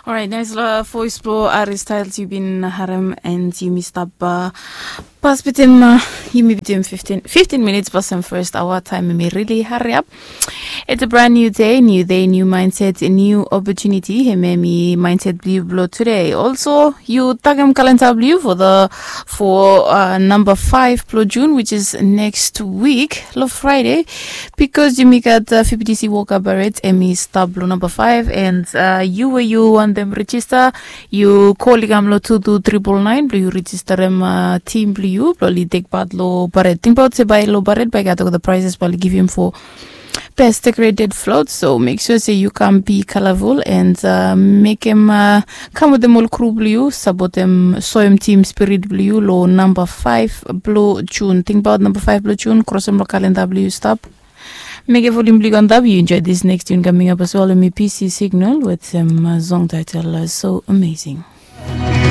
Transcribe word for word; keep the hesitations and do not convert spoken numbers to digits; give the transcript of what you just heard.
Orait, nais long voice blong Ari Styles yu bin harem, and yumi stap uh, pas bitim uh, yumi bitim fifteen, fifteen minutes pasem first hour time, yumi really hurry up. It's a brand new day, new day, new mindset, new opportunity. Hemia hemi mindset blong yu blong today. Also, yu tagem kalenda blong yu for the for uh, number five blong June, which is next week, long Friday, because yumi gat uh, F B T C World Cup Barrett, hemi stap long number five, and uh, yu we yu wantem register, yu call i kam long two two triple nine blong yu registerem uh, team blong yu blong oli take part long Barrett. Tingbaot se bae long Barrett bae i gat olgeta prizes bae oli givim for best decorated float. So make sure se yu kam be colorful and uh, mekem uh, kam wetem ol crew blong yu, sapotem, soem team spirit blong yu long number five blong June. Tingbaot number five blong June, krosem long kalenda blong yu stap. Mekem volume blong yu antap, yu enjoy this next tune coming up as well. Hemi P C Signal wetem uh, song title uh, So Amazing.